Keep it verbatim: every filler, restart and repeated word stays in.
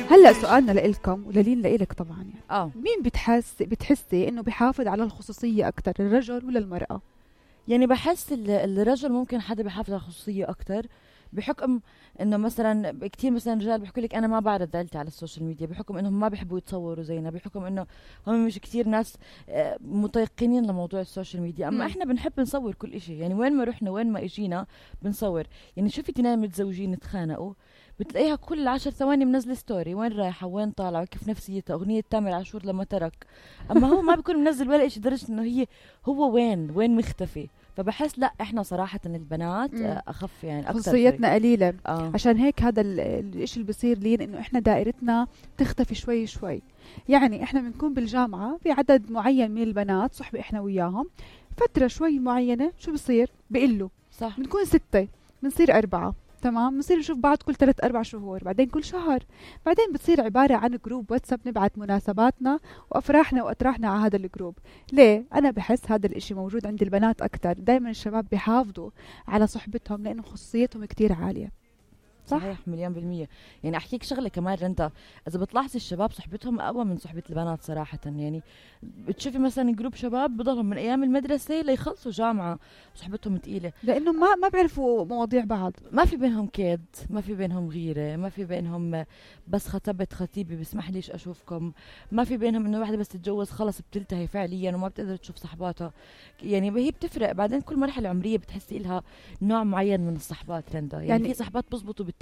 هلا سؤالنا لإلكم وللين لإلك طبعا يعني اه مين بتحس بتحسي انه بيحافظ على الخصوصية اكتر، الرجل ولا المرأة؟ يعني بحس ال- الرجل ممكن حدا بيحافظ على خصوصية أكتر، بحكم انه مثلا كتير مثلا رجال بيحكوا لك انا ما بعرض عيلتي على السوشيال ميديا، بحكم انهم ما بيحبوا يتصوروا زينا، بحكم انه هم مش كتير ناس آه، متيقنين لموضوع السوشيال ميديا. اما مم. احنا بنحب نصور كل اشي، يعني وين ما رحنا وين ما اجينا بنصور. يعني شوفي اثنين متزوجين اتخانقوا بتلاقيها كل عشر ثواني منزل ستوري، وين رايحة وين طالعة كيف نفسيتها، أغنية تامر عاشور لما ترك. أما هو ما بيكون منزل ولا إشي، درجة إنه هي هو وين وين مختفي. فبحس لا احنا صراحة البنات مم. آه، أخف يعني أكتر خصوصيتنا قليلة. آه. عشان هيك هذا ال- الاشي اللي بصير لين انه احنا دائرتنا تختفي شوي شوي. يعني احنا بنكون بالجامعة في عدد معين من البنات صحبة احنا وياهم، فترة شوي معينة شو بصير بقلوا، صح. بنكون ستة بنصير أربعة، تمام، بنصير نشوف بعض كل ثلاث أربع شهور، بعدين كل شهر، بعدين بتصير عبارة عن جروب واتساب نبعت مناسباتنا وأفراحنا وأتراحنا على هذا الجروب. ليه؟ أنا بحس هذا الإشي موجود عند البنات أكتر. دايما الشباب بيحافظوا على صحبتهم لأنه خصوصيتهم كتير عالية. صح؟ صحيح مليون بالمية. يعني أحكيك شغلة كمان رندا، إذا بتلاحظي الشباب صحبتهم أقوى من صحبة البنات صراحة. يعني بتشوفي مثلا جروب شباب بضلهم من أيام المدرسة ليخلصوا جامعة صحبتهم تقيلة، لأنه ما ما بيعرفوا مواضيع بعض، ما في بينهم كيد، ما في بينهم غيرة، ما في بينهم بس خطبت خطيبي بسمح ليش أشوفكم، ما في بينهم إنه واحدة بس تتجوز خلص بتلتهي فعليا وما بتقدر تشوف صحباتها. يعني هي بتفرق بعدين كل مرحلة عمرية بتحسي لها نوع معين من الصحبات رندا. يعني, يعني في صحبات بزبطوا بالتوجيه